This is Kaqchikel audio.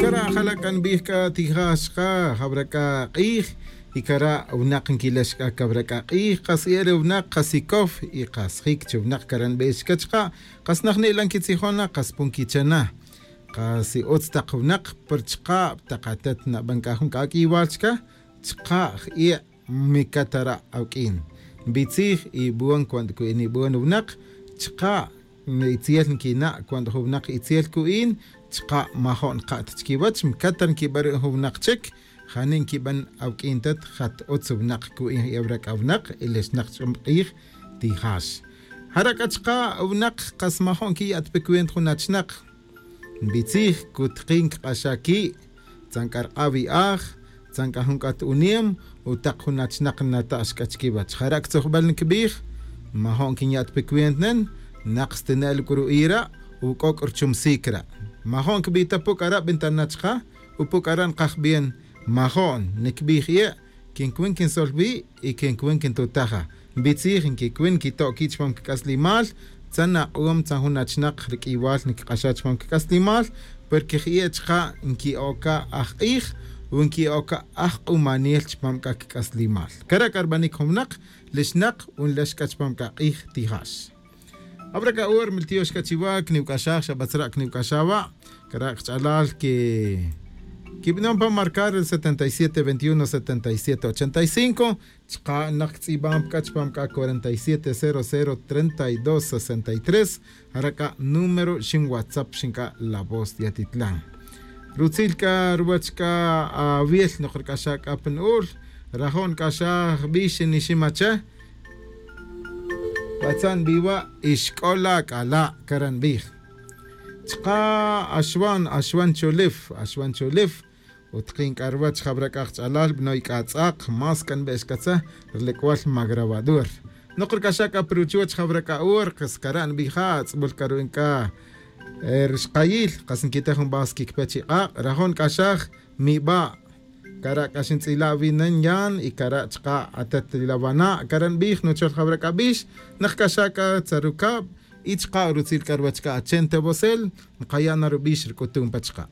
Kara' jala' k'a nb'ij k'a tijax qa jab'rak'a q'ij y kara' wnaq nkilex k'a kab'rak'a q'ij qas e ri wnaq qas ikow y qas jik chi wnaq kara' nb'ex ka chqa qas naj ni'la nkitzijona qas pun kichena qas utz taq wnaq per chqa taq atet nab'an k'a jun k'ak'iwal chka chqa j mikatara awk'in nb'itzij y b'uan cuando nib'uan wnaq chqa itziel nkina' cuando jun wnaq itziel ku'in chqa majo'n qa't chkiwach mkatar nkib'an jun wnaq chik jani nkib'an awk'in tat jat utz wnaq ku'in yawrak awnaq ilexnaq ch'um q'ij tijax jarak achqa wnaq qas majo'n kiya't pikuent jun achnaq nb'itzij kutqin kq'axa ki' tzank'arq'a wi'aj tzank'a jun k'at uniem utaq jun achnaq nata'x k'a chkiwach jarak tzojb'al nkb'ij majo'n kinya't pikuent nen naq stenel k'uru'ira uk'ok' rchumsik ra' majo'n kb'ita puk ara' b'intanachqa upuk ara' nqaj bien majo'n nikb'ij ye' kinkwin kinsolwi y kinkwin kintutaja nb'itzij nkikwin nkito' ki' chpam kk'aslimal tzan aq'uum tzan jun achnaq rik'iwal nkq'axa chpam kk'aslimal porque j chqa nki'oka ajq'ij u nki'oka ajq'umanil chpam k'a kk'aslimal kara' k'arb'anik jun wnaq lixnaq unlex k'a chpam k'a q'ij tijax Abra ka ur miltiox kachiwa kniwk'axaj xab'atzra' kniwk'axawa kara' qch'alal ke kib'non pa marcar el 77 21 77 85 chqa naq tz'ib'an k'a chpam k'a 47 00 32 63 jara k'a número xin WhatsApp xin k'a La Voz de Atitlán rutzil k'a ruwach k'a awiel noq rk'axa k'a pin ul rajon k'axaj b'ix niximache Batzan biwa ixk'ola k'ala karan b'ij chqa axwan axwan cholif axwan cholif utqin k'arwach jab'rak'aj ch'alal b'noy k'atz'aq mas kan b'ex katza rlekwal magrabadur noq rk'axa k'a pruchuch jab'rak'a'ur qas karan b'ija tz'b'ul karu'in k'a rxqayil qas nkitej jun b'as kikpe chi q'aq' rajon k'axaj mib'a kara' k'axin tz'ila' winan yan y kara' chqa atet lawana' karan b'ij nuchol jab'rak'ab'ix naq k'axa k'a tzarukab' y chqa rutzil k'arwach k'a achente bosel nqaya' na rub'ix rk'utun pa chqa.